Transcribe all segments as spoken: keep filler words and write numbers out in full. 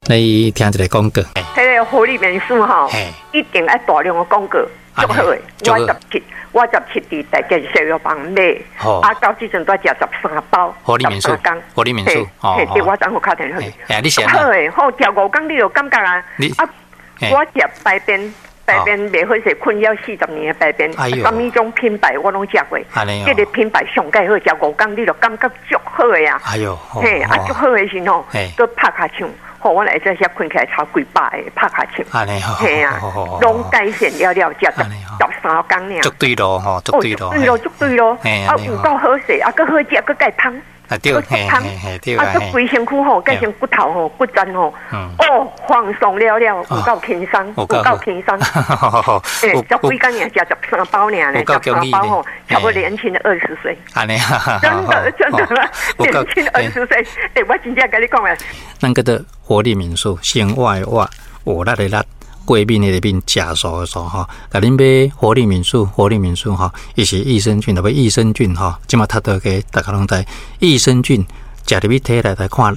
來聽一个廣告。彼个活力美素吼，一定愛大量的廣告，足好的。我十七，我十七佇大建小藥房買，啊，到這陣都食十三包，活力美素，活力美素，嘿，對，我昨昏敲電話。欸，你是好的，好食五工你就感覺啊，啊，我食排便。排便袂好勢，困擾四十年的排便，啥物種品牌我攏食過。這个品牌上蓋好，食五工你就感覺足好的啊！哎喲，嘿，啊足好的時吼，閣拍跤唱，予我來這遐睏起來超幾百个拍跤唱。嘿啊，攏改善了了，食十十三工爾。足對路吼，足對路，對路足對路，啊有夠好勢，啊閣好食，閣蓋芳。啊對，嘿嘿對啊，閣規身軀吼，改成骨頭吼，骨層吼，哦，放鬆了了，有夠輕鬆，有夠輕鬆。欸，十幾工爾，食十三包爾呢，十三包吼，差不多年輕了二十歲。真的真的，年輕二十歲。欸，我真正共你講啊。咱叫做活力民宿，生活的活，活力的力，過敏的敏，食素的素吼。共恁買活力民宿，活力民宿吼，伊是益生菌，特別益生菌吼，這馬讀到個大家攏知，益生菌食入去體內來看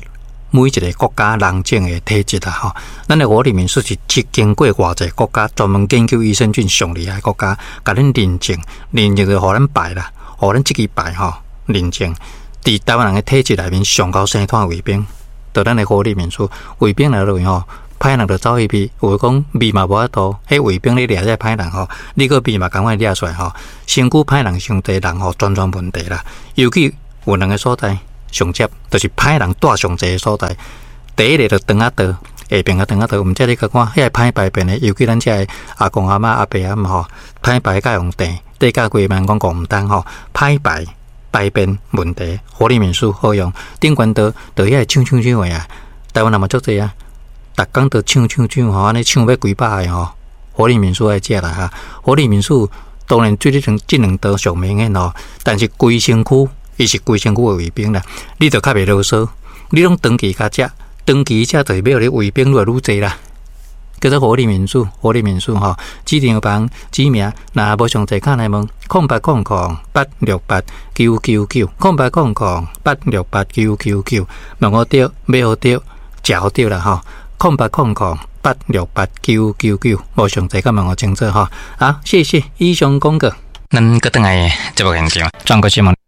每一个國家人種的體質啊吼。咱的活力民宿是經過偌濟國家專門研究益生菌上厲害國家，共恁認證，認證就予咱排啦，予咱這支排吼認證，佇台灣人的體質內面上夠生湠胃病，就咱的活力民宿胃病來落去吼。歹人就走彼味，有的講味嘛無法度，彼胃病咧掠這歹人吼，你閣味嘛仝款掠出來吼，身軀歹人傷濟，人吼全全問題啦。尤其有兩个所在上接，就是歹人蹛上濟的所在。第一个就腸仔道，下爿的腸仔道，毋知你共看，遐个歹排便的，尤其咱遮的阿公阿嬤阿伯阿姆吼，歹排佮用碇，地價幾萬講講毋通吼，歹排排便問題，活力民宿好用。頂懸道就遐个搶搶搶的啊，台灣人嘛足濟啊。逐工都搶搶搶吼，按呢搶欲幾百个吼，活力民宿愛食啦哈。活力民宿當然對這兩這兩道上明顯吼，但是規身軀伊是規身軀的胃病啦，你就較袂囉嗦，你攏長期共食，長期食就是欲予你胃病愈來愈濟啦。叫做活力民宿，活力民宿吼，指定房指名，若無上濟敲來問，空八空空八六八九九九，空八空空八六八九九九，問予著，買予著，食予著啦吼。空八空空八六八九九九，無上濟，佮問予清楚吼。好，謝謝以上廣告。咱閣轉來節目現場，轉過新聞。